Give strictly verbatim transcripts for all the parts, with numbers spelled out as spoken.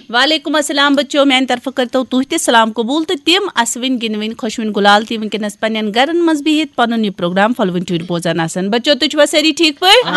وعلیکم السلام بچو، میانہِ طرفہٕ کٔرتو تُہۍ تہِ سلام قبول تہٕ تِم اسوٕنۍ گِنٛدوٕنۍ خۄشوٕنۍ گُلال تہِ وٕنکیٚنس پننٮ۪ن گرن منٛز بِہِتھ پنُن یہِ پروگرام پھۄلوٕنۍ ٹُرۍ بوزان آسن۔ بچو، تُہۍ چھِوا سٲری ٹھیٖک پٲٹھۍ؟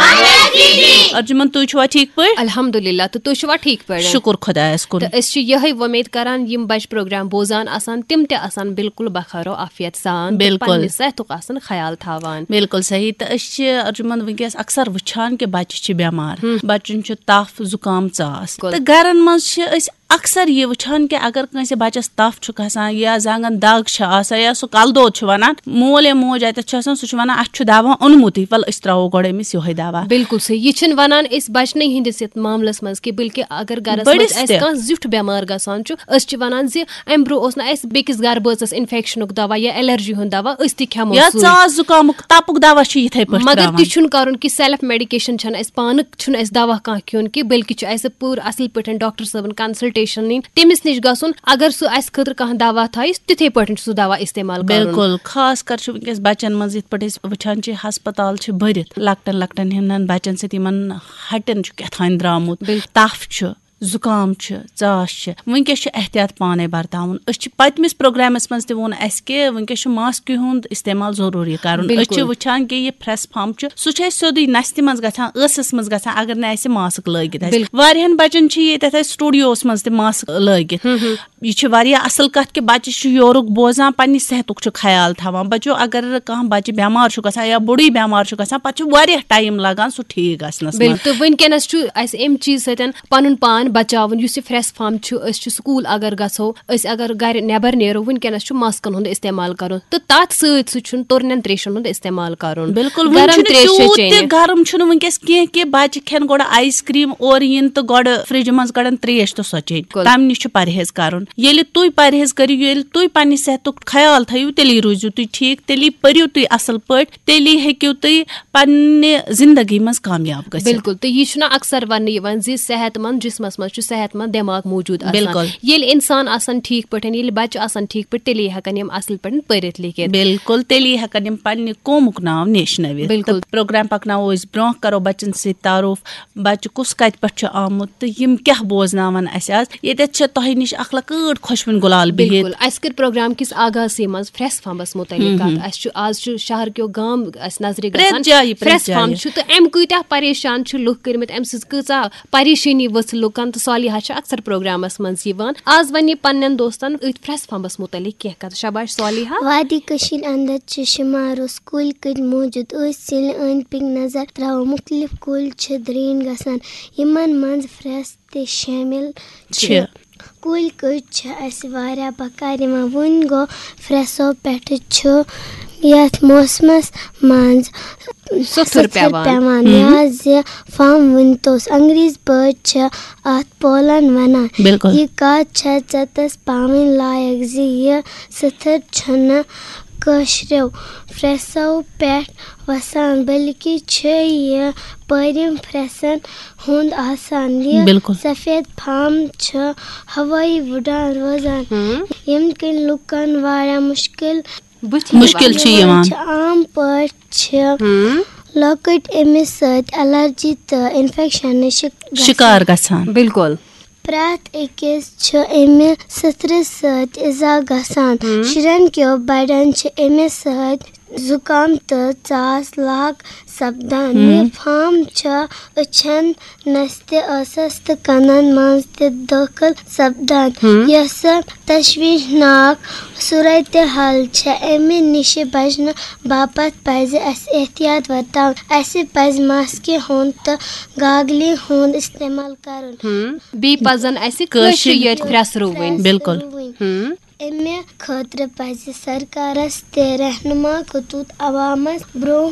ارجمن، تُہۍ چھِوا ٹھیٖک پٲٹھۍ؟ الحمدللہ، تہٕ تُہۍ چھِوا ٹھیٖک پٲٹھۍ؟ شُکُر خۄدایس کُن۔ تہٕ أسۍ چھِ یِہے وۄمید کران، یِم بچہِ پروگرام بوزان آسان، تِم تہِ آسان بالکل بخیر و عافیت سان تہٕ بالکل۔ پننہِ صحتُک آسان خیال تھاوان۔ بالکل صحیح۔ تہٕ أسۍ چھِ ارجمن وٕنکیٚس اکثر وٕچھان کہِ بچہِ چھِ بٮ۪مار، ہم۔ بچن چھُ تف، زُکام، ژاس۔ بالکل۔ تہٕ گرن منٛز چھِ أسۍ اکثر یہِ وٕچھان کہِ اگر کٲنٛسہِ بچس تف چھُ کھسان یا زنٛگن دگ چھِ آسان یا سُہ کلہٕ دود چھُ ونان، مول یا موج اتٮ۪تھ چھُ آسان، سُہ چھُ ونان، "اسہِ چھُ دوا اوٚنمُتٕے، ول أسۍ ترٛاوو گۄڈٕ أمِس یِہوٚے دوا۔" بالکل صحیح۔ یہِ چھِنہٕ ونان أسۍ بچنٕے ہٕنٛدِس یتھ معاملس منٛز کہِ، بلکہِ اگر گرس بٔڑِس منٛز اسہِ تہِ۔ کانٛہہ زیُٹھ بٮ۪مار گژھان چھُ، أسۍ چھِ ونان زِ امہِ برونٛہہ اوس نہٕ اسہِ بیٚکِس گرٕ بٲژس انفیکشنُک دوا یا الرجی ہُنٛد دوا، أسۍ تہِ کھٮ۪مو یا سُے۔ ژاس زُکامُک تپُک دوا چھُ یِتھے پٲٹھۍ مگر تراوان۔ تہِ چھُنہٕ کرُن کہِ سیلف میڈیکیشن چھنہٕ اسہِ پانہٕ، چھُنہٕ اسہِ دوا کانٛہہ کھیوٚن کہِ، بلکہِ چھُ اسہِ پوٗرٕ اصل پٲٹھۍ ڈاکٹر صٲبن کنسلٹیشن نِنۍ، تٔمِس نِش گژھُن۔ اگر سُہ اسہِ خٲطرٕ کانٛہہ دوا تھایہِ، تِتھے پٲٹھۍ چھُ سُہ دوا استعمال کرُن۔ بالکل، خاص کر چھُ وٕنکیٚس بچن منٛز یِتھ پٲٹھۍ أسۍ وٕچھان چھِ، ہسپتال چھِ بٔرِتھ، لۄکٹٮ۪ن لۄکٹٮ۪ن ہٕنٛدٮ۪ن بچن سۭتۍ، یِمن ہٹٮ۪ن چھُ کیٛاہ تام درامُت، بالکل۔ تف چھُ، زُکام چھُ، ژاس چھِ، وٕنکیٚس چھُ احتیاط پانے برتاوُن۔ أسۍ چھِ پٔتمِس پروگرامس منٛز تہِ ووٚن اسہِ کہِ وٕنکیٚس چھُ ماسکہِ ہُنٛد استعمال ضروٗری کرُن۔ أسۍ چھِ بالکل۔ وٕچھان کہِ یہِ پھرٛس پھمب چھُ، سُہ چھُ اسہِ سیوٚدُے نستہِ منٛز گژھان، ٲسس منٛز گژھان، اگر نہٕ اسہِ ماسک لٲگِتھ آسہِ۔ بالکل۔ واریاہن بچن چھِ ییٚتٮ۪تھ اسہِ سٹوڈیوس منٛز تہِ ماسک لٲگِتھ۔ ہم ہم۔ یہِ چھِ واریاہ اصل کتھ کہِ بچہِ چھُ یورُک بوزان، پننہِ صحتُک چھُ خیال تھاوان۔ بچو، اگر کانٛہہ بچہِ بٮ۪مار چھُ گژھان یا بُڑٕے بٮ۪مار چھُ گژھان، پتہٕ چھُ واریاہ ٹایم لگان سُہ ٹھیٖک گژھنس منٛز۔ بالکل، تہٕ وٕنکیٚنس چھُ اسہِ امہِ چیٖز سۭتۍ پنُن پان بچاوُن۔ یُس یہِ پھرٛس پھمب چھُ، أسۍ چھِ سکوٗل اگر گژھو، أسۍ اگر گرِ نٮ۪بر نیرو، وٕنکیٚنس چھُ ماسکن ہُنٛد استعمال کرُن، تہٕ تتھ سۭتۍ سۭتۍ چھُنہٕ تُرنٮ۪ن تریشن ہُنٛد استعمال کرُن۔ بالکل، وۄنۍ گرم چھُنہٕ تریش چھِ تیوٗت تہِ چیٚنۍ۔ گرم چھُنہٕ وٕنکیٚس کینٛہہ کہِ بچہِ کھٮ۪ن گۄڈٕ آیس کریم اورٕ یِن تہٕ گۄڈٕ فرجہِ منٛز کڑن تریش تہٕ سۄ چیٚنۍ۔ بالکل۔ تمہِ نِش چھُ پرہیز کرُن۔ ییٚلہِ تُہۍ پرہیز کٔرِو، ییٚلہِ تُہۍ پننہِ صحتُک خیال تھٲیِو، تیٚلی روٗزِو تُہۍ ٹھیٖک، تیٚلی پٔرِو تُہۍ اصل پٲٹھۍ، تیٚلی ہیٚکِو تُہۍ پننہِ زندگی منٛز کامیاب گٔژھِتھ۔ بالکل، تہٕ یہِ چھُنہ اکثر وننہٕ یِوان زِ صحت مند جسمس منٛز چھُ صحت مند دٮ۪ماغ موٗجوٗد آسان۔ بالکل۔ ییٚلہِ انسان آسان ٹھیٖک پٲٹھۍ، ییٚلہِ بچہِ آسان ٹھیٖک پٲٹھۍ، تیٚلے ہٮ۪کن یِم اصل پٲٹھۍ پٔرِتھ لیکھِتھ۔ بالکل، تیٚلی ہٮ۪کن یِم پننہِ قومُک ناو نیشنٲوِتھ۔ بالکل۔ تہٕ پروگرام پکناوو أسۍ برونٛہہ، کرو بچن سۭتۍ تعارُف، بچہِ کُس کتہِ پٮ۪ٹھ چھُ آمُت تہٕ یِم کیٛاہ بوزناون اسہِ آز۔ ییٚتٮ۪تھ چھےٚ تۄہہِ نِش اکھ لۄکۭٹ خۄشوٕنۍ گُلال بِہِتھ۔ بالکل، اسہِ کٔر پروگرام کِس آغازسٕے منٛز پھرٛس پھمبس متعلق ہم، کتھ۔ ہم۔ اسہِ چھُ، آز چھُ شہر کیو گام اسہِ نظرِ پرٛٮ۪تھ گژھان۔ جایہِ، پرٛٮ۪تھ پھرٛس پھمب جایہِ۔ چھُ، تہٕ امہِ کۭتیٛاہ پریشان چھِ لُکھ کٔرمٕتۍ، امہِ سۭتۍ کۭژاہ پریشٲنی ؤژھ لُکن، تہٕ صالحہ چھِ اکثر پروگرامس منٛز یِوان۔ آز ونہِ یہِ پننٮ۪ن دوستن أتھۍ پھرٛس پھمبس متعلق کینٛہہ کتھ۔ شاباش صالحہ۔ وادی کٔشیٖرِ اندر چھِ شُمارس کُلۍ کٔٹۍ موٗجوٗد۔ أسۍ ییٚلہِ أنٛدۍ پٔکۍ نظر تراوو، مُختٔلِف کُلۍ چھِ درٛٲنۍ گژھان، یِمن منٛز پھرٛس تہِ شٲمِل چھِ۔ چھِ۔ کُلۍ کٔٹۍ چھِ اَسہِ واریاہ بکار یِوان۔ وۄنۍ گوٚو، پھرٛسو پٮ۪ٹھٕ چھُ یَتھ موسمَس منٛز سُتھُر سُتھُر پٮ۪وان۔ پٮ۪وان، ہم۔ یا زِ فام ؤنۍ توس۔ انگریزی پٲٹھۍ چھِ اَتھ پولن وَنان۔ بِلکُل۔ یہِ کَتھ چھےٚ ژٮ۪تَس پاوٕنۍ لایق زِ یہِ سُتھُر چھُنہٕ کٲشرٮ۪و پھرٛسو پٮ۪ٹھ وسان، بلکہِ چھِ یہِ پٲرِم پھرٛسن ہُنٛد آسان۔ یہِ بِلکُل۔ سفید فام چھِ ہوٲیی وُڈان روزان، ہم۔ ییٚمہِ کِنۍ لُکن واریاہ مُشکِل بُتھِ مُشکِل چھُ یِوان۔ چھِ۔ عام پٲٹھۍ چھِ ہم۔ لۄکٕٹۍ اَمہِ سۭتۍ الرجی تہٕ انفیکشنٕچ شک-، گژھان۔ شکار گژھان۔ بِلکُل۔ پرٛٮ۪تھ أکِس چھُ اَمہِ سٕتھرِ سۭتۍ اِزا گژھان۔ ہم۔ شُرٮ۪ن کیو بڑٮ۪ن چھِ اَمہِ سۭتۍ زُکام تہٕ ژاس لاگ سپدان۔ ہم۔ یہِ فام چھُ أچھن، نستہِ، ٲسس تہٕ کنن منٛز تہِ دٲخل سپدان، ہم۔ یۄسہٕ تشویشناک صورتحال چھےٚ۔ اَمہِ نِش بچنہٕ باپتھ پزِ اسہِ احتیاط ورتاوُن۔ اسہِ پزِ ماسکہِ ہُنٛد تہٕ گاگلہِ ہُنٛد استعمال کرُن۔ ہم۔ بیٚیہِ پزن اسہِ کٲشرِ کٲشرِ یٲتۍ پھرٛس رُوٕنۍ۔ بِلکُل۔ رُوٕنۍ۔ ہم۔ امہِ خٲطرٕ پزِ سرکارس تہِ رہنما خطوط عوامس برونٛہہ